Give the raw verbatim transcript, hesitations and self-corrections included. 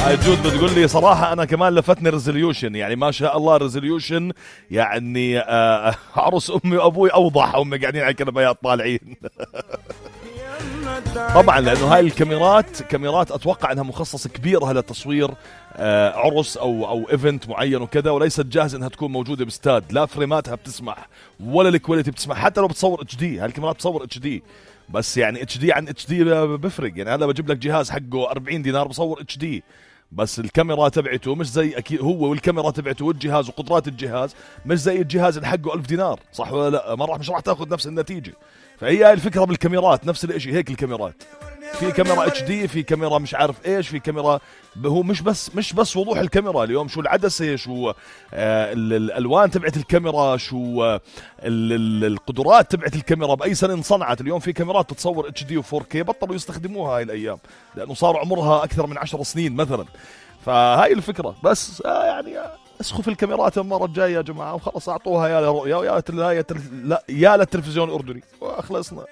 هاي جود بتقول لي صراحة أنا كمان لفتني ريزوليوشن، يعني ما شاء الله ريزوليوشن، يعني آه عروس أمي وأبوي أوضح، هم قاعدين على الكنبايات طالعين. طبعا لأنه هاي الكاميرات كاميرات أتوقع أنها مخصص كبيرة لتصوير آه عرس أو أو إيفنت معين وكذا، وليست جاهزة أنها تكون موجودة باستاد، لا فريماتها بتسمح ولا الكواليتي بتسمح، حتى لو بتصور اتش دي. هاي الكاميرات بتصور اتش دي، بس يعني اتش دي عن اتش دي بفرق. يعني هذا بجيب لك جهاز حقه أربعين دينار بصور اتش دي، بس الكاميرا تبعته مش زي أكيد هو، والكاميرا تبعته والجهاز وقدرات الجهاز مش زي الجهاز اللي حقه ألف دينار، صح ولا لا؟ ما راح مش راح تاخذ نفس النتيجة. فهي هاي الفكرة بالكاميرات، نفس الاشي هيك الكاميرات، في كاميرا اتش دي، في كاميرا مش عارف ايش، في كاميرا هو مش بس مش بس وضوح الكاميرا اليوم، شو العدسة، شو آه الالوان تبعت الكاميرا، شو آه القدرات تبعت الكاميرا، باي سنة انصنعت. اليوم في كاميرات تتصور اتش دي وفور كي بطلوا يستخدموها هاي الايام، لانه صار عمرها اكثر من عشر سنين مثلا. فهاي الفكرة بس آه يعني آه اسخوا في الكاميرات المرة الجاية يا جماعة، وخلص اعطوها يا لرؤيا ويا يا يا للتلفزيون الاردني وخلصنا.